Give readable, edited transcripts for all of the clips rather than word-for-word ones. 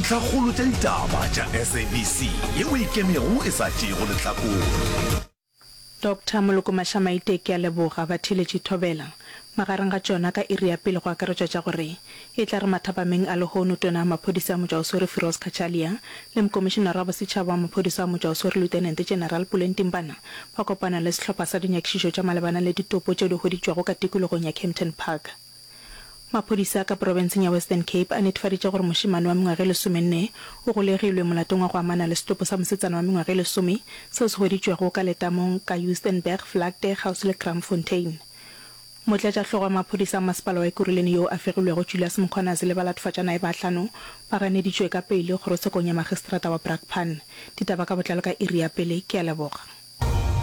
Dintlhakgolo tša ditaba tša SABC yeo e ikemego e sa tšeego lehlakore. Doctor Moloko Mashamaite ke a leboga, batheeletši thobela. Magareng ga tšona ka iri ya pele go akaretšwa tša gore e tla re mathapameng a lehono Tona ya Maphodisa ya Motšwaoswere Firoz Cachalia le Mokomišenara wa Bosetšhaba wa Maphodisa wa Motšwaoswere Lieutenant General Pule Ntimbana ba kopana le sehlopha sa dinyakišišo tša malebana le ditopo tšeo di hweditšwego ka tikologong ya Kempton Park. Maphodisa ka profenseng ya Western Cape a netefaditše gore mošemane wa mengwaga e lesomenne o golegilwe molatong wa go amana le setopo sa mosetsana wa mengwaga e lesome seo se hweditšwego ka letamong ka Joostenberg Vlakte kgauswi le Kraamfontein. Motlatšahlogo wa maphodisa a masepala wa Ekurhuleni yoo a fegilwego Julius Mkhwanazi le balatofatšanae ba hlano ba ganeditšwe ka peile kgorotshekong ya magistrata wa Brakpan. Ditaba ka botlalo ka iri ya pele. Ke a leboga.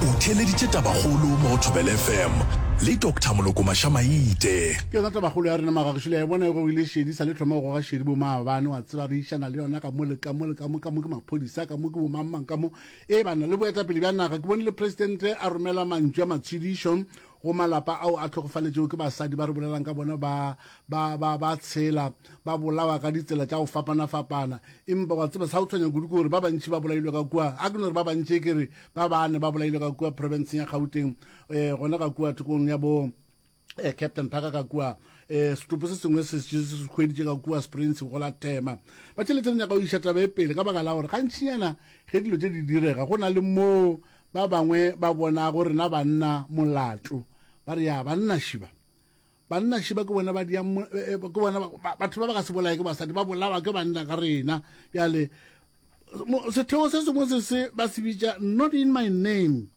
O theeleditše Tabakgolo mo go Thobela FM le Doctor Moloko Mashamaite. Ke yona tabakgolo ya rena magagešu, le a e bona e gogile šedi, sa le thoma go goga šedi bomaabane, wa tseba re išana le yona ka mo le ka mo le ka mo, ka mo ke maphodisa, ka mo ke bomangmang, ka mo e banna le boetapele bja naga. Ke bone le presidente a romela mantšu a matshedišo go malapa ao a hlokofaletšego ke basadi ba re bolelang ka bona ba ba ba ba tshela ba bolawa ka ditsela tša go fapana-fapana. Empa wa tseba sa go tshwenya kudu ke gore ba bantši ba bolailwe ka kua, a ke no re ba bantši ke re ba bane ba bolailwe ka kua profenseng ya Gauteng, eh, gona ka kua thokong ya bo eh, Captain Parker ka kua eh, setopo se sengwe se se se hweditše ka kua Springs go la Tema. Ba tšhelete re nyaka go iša taba e pele ka baka la gore gantšinyana ge dilo tše di direga go na le moo Ba bangwe ba bonago rena banna molato, ba re, Ya, banna šiba. Banna šiba ke bona ba diang, eh, eh, ke bona batho ba ba ka se bolaye ke basadi, ba bolawa ke banna ka rena. Bjale, setheo se sengwe se se ba se bitša Not In My Name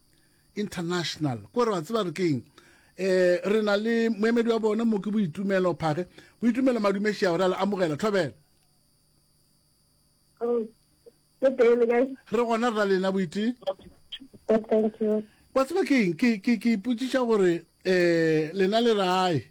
International. Ko re ba tseba re keng? Eh, re na le moemedi wa bona mo ke Boitumelo Phage. Boitumelo Madumešia, re a le amogela. Thobela. Oh. Le teng le kae? Re gona re na le lena boite. Good, thank you. Wa tseba ke eng? Ke ke ke ipotšiša gore eh lena le re ae.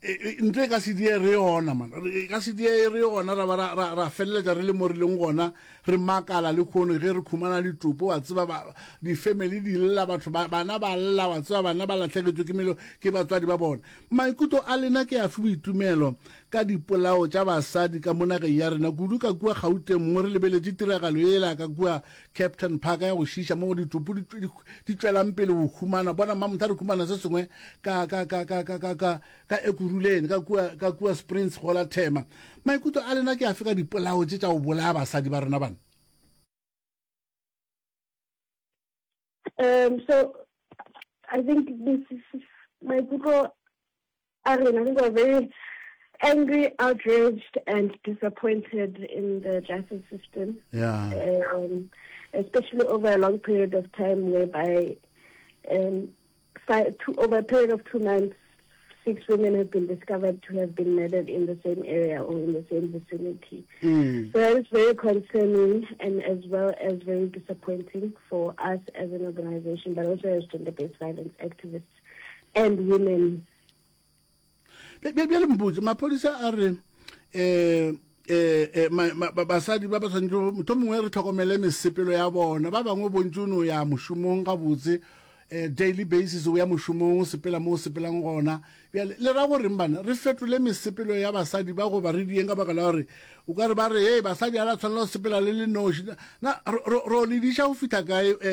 E, e, ntho e ka se die re yona man. E ka se die re yona ra ba ra ra, ra feleletša re le mo re leng gona re makala le khono ge re khumana ditopo wa tseba ba di-family di lla batho ba bana ba lla wa tseba bana ba lahlegetšwe ke melo ke batswadi ba bona. Maikutlo a lena ke afe boitumelo ka dipolao tša basadi ka mo nageng ya rena, kudu ka kua Gauteng mo re lebeletše tiragalo yela ka kua Captain Park ya go šiiša mo ditopo di, di, di tšwelang pele go humana. Bona mamotha re humana se sengwe ka, ka, ka, ka, ka, ka, ka, ka Ekurhuleni, ka kua, ka kua Springs go la Thema. Maikutlo a lena ke afe ka dipolao tše tša go bolaya basadi ba rena bana? Um, so I think this is maikutlo a rena, I think we're very angry, outraged, and disappointed in the justice system. Yeah. Um, especially over a long period of time whereby um, five, two, over a period of 2 months, 6 women have been discovered to have been murdered in the same area or in the same vicinity. Mm. So that is very concerning and as well as very disappointing for us as an organization, but also as gender-based violence activists and women. Bjale mpotse, maphodisa a re eh eh, eh basadi ba ba tshwanetse motho mongwe re tlhokomele mesepelo ya bona ba bangwe bontsi o no ya mošomong gabotse eh, daily basis o ya mošomong o sepela mo o sepelang gona bjale le ra goreng bana re fetole mesepelo ya basadi ba goba re dieng ka baka la gore o ka re ba re hey basadi ga la tshwanela go sepela le le noši na ro le diša go fihla kae eh?